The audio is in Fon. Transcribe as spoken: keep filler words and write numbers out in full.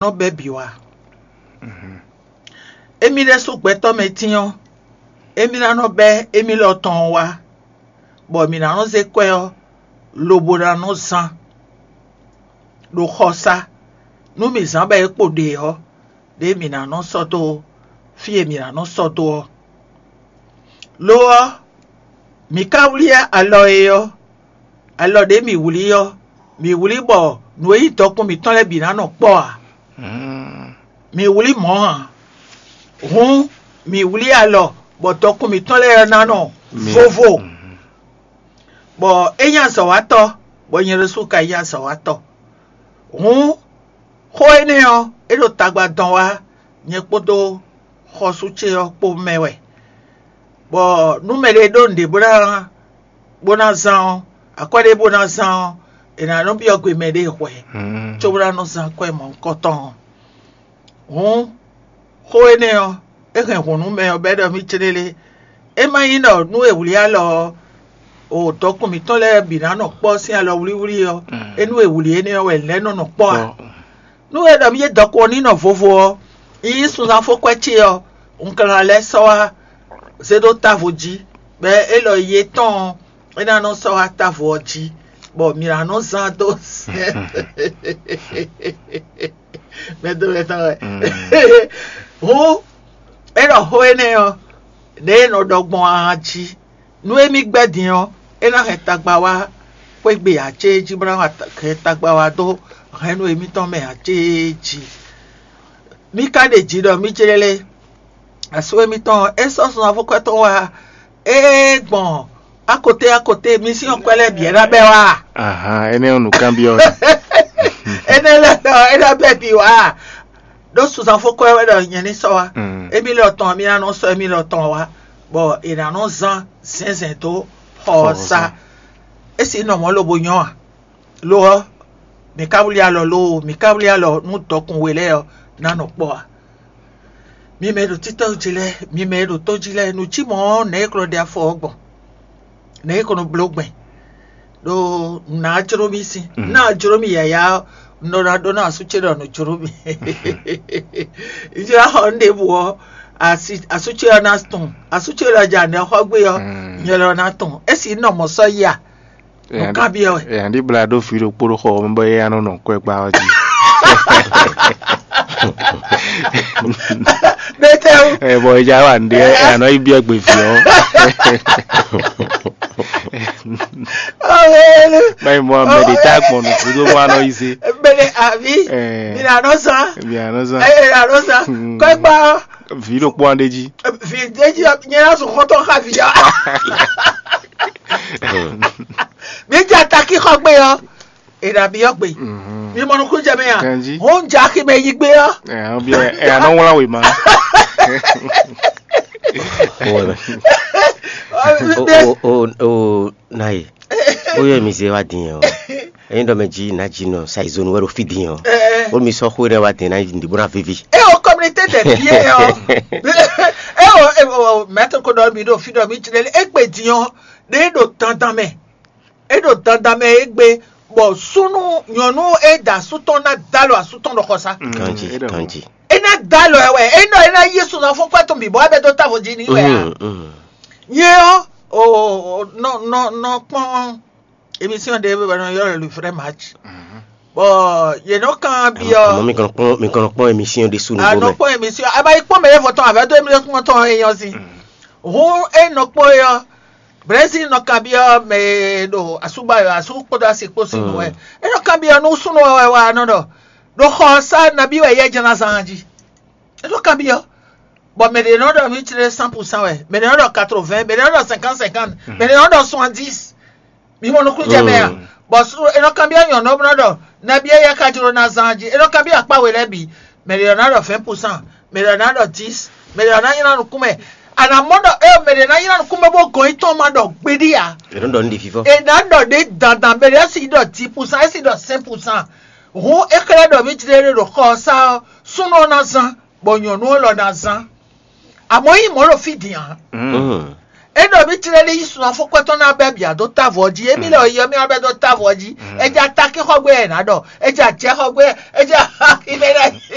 nɔ bɛ́ bǐ wá. Émí ɖésú gbɛtɔ́ mɛ tín ɔ́, émí ná nɔ bɛ́ émí lɔ tɔn ɔ́ wá, bɔ mǐ ná nɔ zé kwɛ́ ɔ́ lobo ná nɔ zán ɖo xɔsá. Nú mǐ zán bɔ é kpo ɖe ɔ́, ɖěe mǐ ná nɔ sɔ́ dó fí e mǐ ná nɔ sɔ́ dó ɔ́. Lo ɔ́, mǐ ka wlí alɔ e ɔ́, alɔ ɖě mǐ wlí ɔ́, mǐ wlí bɔ nǔ e nyí dɔkun mǐtɔn lɛ́ɛ bǐ ná nɔ kpɔ́ ǎ. Mǐ wlí mɔ̌ ǎ. Hǔn mǐ wlí alɔ bɔ dɔkun mǐtɔn lɛ́ɛ ná nɔ vovo, bɔ é nyí azɔ̌watɔ́, bɔ nyɛ ɖésú ka nyí azɔ̌watɔ́. Hǔn xó énɛ́ ɔ́, é ɖo tagba dɔn wá nyɛ kpódó xɔsú ce ɔ́ kpó mɛ wɛ, bɔ nú mɛɖé ɖó nǔɖé bó ná bó ná zán ɔ́, akwɛ́ ɖé bó ná zán ɔ́, è nǎ nɔ byɔ́ gbe mɛɖé hwɛ̌, cóbó ná nɔ zán akwɛ́ mɔ̌hunkɔtɔn ɔ́. Hǔn xó énɛ́ ɔ́, é hɛn hǔn nú mɛ ɔ́ bɔ é ɖɔ mì céɖélé. É má nyí ɖɔ nú è wlí alɔ ɔ́, o dɔkun mǐtɔn lɛ́ɛ bǐ ná nɔ kpɔ́ sín alɔ wlíwlí ɔ́, é nú è wlí énɛ́ ɔ́ wɛ lɛ̌ nɔ nɔ kpɔ́ ǎ. Nú è ɖɔ mì é dɔkun ɔ́ ní nɔ vovo ɔ́, yi yí sunzán fó kwɛ́ ce ɔ́, un ka ná lɛ́ sɔ́ wá zé ɖó távo jí, bɔ élɔ́ yi tɔn ɔ́, é ná nɔ sɔ́ wá távo ɔ́ jí, bɔ mǐ ná nɔ zán dó sɛn mɛdó mɛtɔn wɛ. Hǔn é ɖɔ xó énɛ́ ɔ́, ɖěe è nɔ ɖɔ gbɔn a jí. Nú émí gbɛ́ din ɔ́, é ná hɛn tagba wá xwé gbe ǎ céjí, bó ná hɛn tagba wá dó hɛ̌nnu émítɔn mɛ ǎ céjí. Mí ka ɖe jǐ ɖɔ mí jlɛ́ lé. Asú émítɔn ɔ́, é sɔ́ sun avɔ́kwɛ́ tɔn wá ée gbɔn akoté akoté mí sín ɔ́ kwɛ́ lɛ́ɛ bǐ é ná bɛ́ wá. Ahan, énɛ́ ɔ́ nǔkanbyɔ́ wɛ. Énɛ́ lɛ́ɛ ɔ́, é ná bɛ́ bǐ wá. Ɖó sunzán fó kwɛ́ wɛ ɖɔ nyɛ ní sɔ́ wá. Émí lɔ tɔn mí ná nɔ sɔ́ émí lɔ tɔn wá, bɔ è nǎ nɔ zán zɛ̌nzɛ̌n dó xɔ ɔ́ sá. É sì nɔ mɔ̌ lobo nyɔ́ a? Lo ɔ́, mǐ ka wlí alɔ loo, mǐ ka wlí alɔ nú dɔkun we lɛ́ɛ ɔ́ ná nɔ kpɔ́ ǎ. Mi mɛ e ɖo títɔ́ jí lɛ́ɛ, mi mɛ e ɖo tó jí lɛ́ɛ, nǔ cí mɔ̌ ɔ́, nɛ̌ e ko nɔ ɖe afɔ ɔ́ gbɔn? Nɛ̌ e ko nɔ bló gbɛn? Ɖó nǔ ná jló mì sín. Nú a jló mì yǎyá ɔ́, un nɔ ná ɖó ná asú ce ɖɔ nǔ jló mì. Jlá xɔ nú ɖěbǔ ɔ́, asú ce ɔ́ ná tunwun. Asú ce ɖɔ ja nɛ̌ xɔ gbé ɔ́, nyɛ lɔ ná tunwun. É sì nɔ mɔ̌ sɔ́ yi a? Nǔ kanbyɔ́ wɛ. Ɛ, andi bla ɖó vǐ ɖokpó ɖó xɔ ɔ́ mɛ bɔ é ná nɔ nɔ kwɛ́ gbá ɔ́ jí. Ɖétɛ́wú. Ɛ, bɔ é já wa nǔɖé, ɛ, anɔ yi byɔ́ gbe vǐ ɔ́. Ɔwélu. Báyìí mɔ mɛ ɖé tá gbɔn nǔ gúdo bó anɔ yi zé. Mɛɖe àbí? Ɛ. Mi là nɔ zán. Mi là nɔ zán. Ɛ, mi là nɔ zán. Kɔ́gbá ɔ́. Vǐ ɖokpó ɔ́ ɖé jí. Vǐ ɖé jí ɔ́, nyɛ ná sùn xɔ́ntɔn xá vǐ ɔ́. Mi jɛ takí xɔ gbé ɔ́. È nǎ byɔ́ gbe. Mi mɔ nukúnnú jɛ mɛ a? Ganjí. Hɔn jɛ axi mɛ yi gbé ɔ́. Ɛ, ɔ́ byɔ́ ɛ, ɛ, anɔ wlán wěma. Wala. O, o, o, o, na ye. Ó yɔ mi zé wá dín ɔ́. Ẹ̀yin ɖɔ mɛ jí nǎ jí nɔ saizonu wɛ ɖo fí dín ɔ́. Ó mi sɔ́ xó ɖɛ wá dín ná yi bó ná víví. E o communauté des vieux ɔ. E o, e o, maître ko ɖɔ mi ɖo fí ɖɔ mi jlɛ égbé dín ɔ́. Ɖe ɖo dandan mɛ. E ɖo dandan mɛ égbé, bɔ súnú nyɔ̌nu e da asú tɔn ná dalo asú tɔn ɖo xɔsá. Kanji, kanji. E ná dalo ɛ wɛ, e nɔ e ná yí sunzan fún kwɛ tɔn bǐ bɔ abɛ dó távo jí ní wɛ a. Nyɛ ɔ́, o, o, nɔ nɔ nɔ kpɔn émission ɖé bɔ nɔ yɔ́ le vrai match. Bɔ yě nɔ kan byɔ́. Àmọ́ mi kàn kpɔn, mi kàn kpɔn émission ɖé sunu. A nɔ kpɔn émission, a ma yi kpɔn mɛ yɛ fɔtɔn avɛ dó émission tɔn e yɔ si. Hun e nɔ kpɔn yɔ. Brésil nɔ kan byɔ́ mɛ e ɖo asúgbá yɔ asú kpódó asi kpó sin nɔ wɛ. E nɔ kan byɔ́ nú súnnu wɛ wá nɔ ɖɔ ɖo xɔ sá nabí wɛ yɛ jɛ́n ná zán jí. E nɔ kan byɔ́. Bɔ mɛ ɖě nɔ ɖɔ mì tlé cent pour cent wɛ, mɛ ɖě nɔ ɖɔ quatre-vingts, mɛ ɖě nɔ ɖɔ cinquante cinquante, mɛ ɖě nɔ ɖɔ soixante-dix. Mi mɔ nukúnnú jɛ mɛ a? Bɔ e nɔ kan byɔ́ nyɔ̌nu ɔ́ nɔ ɖɔ nabí e yɛ ka jló ná zán jí. E nɔ kan byɔ́ akpá we lɛ́ɛ bǐ. Mɛ ɖě ná ɖɔ vingt pour cent, mɛ ɖě ná ɖɔ dix, mɛ ɖě ná nylá nukún mɛ. A nǎ mɔ ɖɔ ée mɛ ɖě ná nylá nukún mɛ bó gɔn yi tɔn ma ɖɔ gbeɖé ǎ. È nɔ ɖɔ nǔ ɖi fífɔ. È nǎ ɖɔ ɖě dandan, mɛ ɖě si ɖɔ dix pour cent, é si ɖɔ cinq pour cent. Hǔn é xlɛ́ ɖɔ mì jlé ɖe ɖo xɔ ɔ́ sá ɔ́, súnnu ɔ́ ná zán, bɔ nyɔ̌nu ɔ́ lɔ ná zán. Amɔ̌ nyí mɔ̌ ɖo fí din ǎ. É ɖɔ mì tlɛ ní yi sun afɔkpɛtɔ́ ná bɛ́ bǐ dó távo jí, émí lɛ yi ɔ́ mì wá bɛ́ dó távo jí. É jɛ atakí xɔ gbé ɛ nǎ ɖɔ, é jɛ ajɛ xɔ gbé, é jɛ aximɛ lɛ.